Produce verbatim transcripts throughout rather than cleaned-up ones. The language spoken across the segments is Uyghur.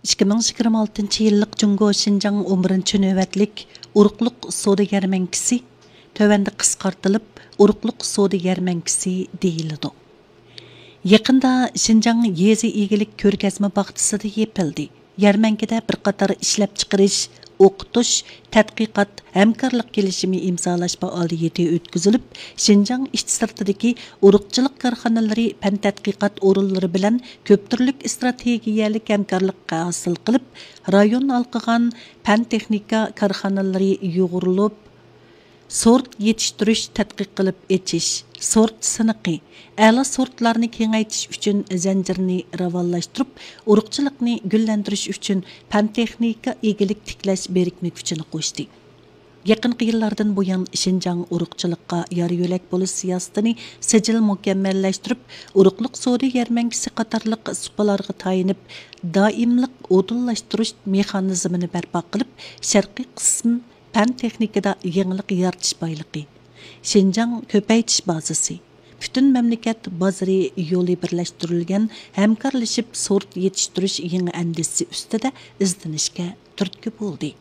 ئىككى مىڭ يىگىرمە ئالتىنچى يىللىق جۇڭگو شىنجاڭ ئون بىرىنچى نۆۋەتلىك ئۇرۇقلۇق سودا يەرمەنكىسى، تۆۋەندە قىسقارتىلىپ ئۇرۇقلۇق سودا يەرمەنكىسى دېيىلىدۇ. يېقىندا شىنجاڭ يېزا ئىگىلىك كۆرگەزمە باغچىسىدا يېپىلدى. يەرمەنكىدە بىر قاتار ئىشلەپچىقىرىش، ئوقۇتۇش، تەتقىقات، ھەمكارلىق كېلىشىمى ئىمزالاش پائالىيىتى ئۆتكۈزۈلۈپ، شىنجاڭ ئىچى سىرتىدىكى ئۇرۇقچىلىق كارخانىلىرى پەن تەتقىقات ئورۇنلىرى بىلەن كۆپ تۈرلۈك ئىستراتېگىيەلىك ھەمكارلىق ھاسىل قىلىپ، رايون ھالقىغان پەن تېخنىكا كارخانىلىرى يۇغۇرۇلۇپ، سورت يېتىشتۈرۈش، تەتقىق قىلىپ ئېچىش، سورت سىنىقى، ئەلا سورتلارنى كېڭەيتىش ئۈچۈن زەنجىرنى راۋانلاشتۇرۇپ، ئۇرۇقچىلىقنى گۈللەندۈرۈش ئۈچۈن پەن تېخنىكا ئىگىلىك تىكلەش بىرىكمە كۈچىنى قوشتى. يېقىنقى يىللاردىن بۇيان، شىنجاڭ ئۇرۇقچىلىققا يار يۆلەك بولۇش سىياسىتىنى سىجىل مۇكەممەللەشتۈرۈپ، ئۇرۇقلۇق سودا يەرمەنكىسى قاتارلىق سۇپىلارغا تايىنىپ، دائىملىق ئۇدۇللاشتۇرۇش مېخانىزمىنى بەرپا قىلىپ، شەرقىي قىسىم پەن تېخنىكىدا يېڭىلىق يارىتىش بايلىقى، شىنجاڭ كۆپەيتىش بازىسى، پۈتۈن مەملىكەت بازىرى يولى بىرلەشتۈرۈلگەن ھەمكارلىشىپ سورت يېتىشتۈرۈش يېڭى ئەندىزىسى ئۈستىدە ئىزدىنىشكە تۈرتكە بولدى.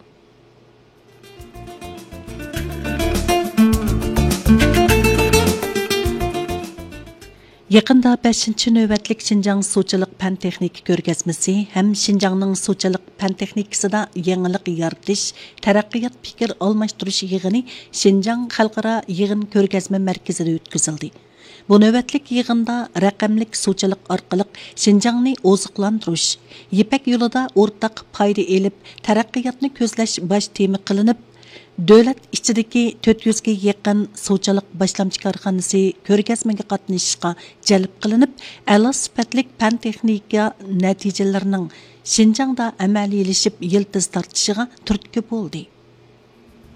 يېقىندا بەشىنچى نۆۋەتلىك شىنجاڭ سۇچىلىق پەن تېخنىكا كۆرگەزمىسى ھەم شىنجاڭنىڭ سۇچىلىق پەن تېخنىكىسىدا يېڭىلىق يارىتىش، تەرەققىيات پىكىر ئالماشتۇرۇش يىغىنى شىنجاڭ خەلقئارا يىغىن كۆرگەزمە مەركىزىدە ئۆتكۈزۈلدى. بۇ نۆۋەتلىك يىغىندا رەقەملىك سۇچىلىق ئارقىلىق شىنجاڭنى ئوزۇقلاندۇرۇش، يىپەك يولىدا ئورتاق پايدا ئېلىپ، تەرەققىياتنى كۆزلەش باش تېما قىلىنىپ، دۆلەت ئىچىدىكى تۆت يۈزگە يېقىن سۇچىلىق باشلامچى كارخانىسى كۆرگەزمىگە قاتنىشىشقا جەلپ قىلىنىپ، ئەلا سۈپەتلىك پەن تېخنىكا نەتىجىلىرىنىڭ شىنجاڭدا ئەمەلىيلىشىپ يىلتىز تارتىشىغا تۈرتكە بولدى.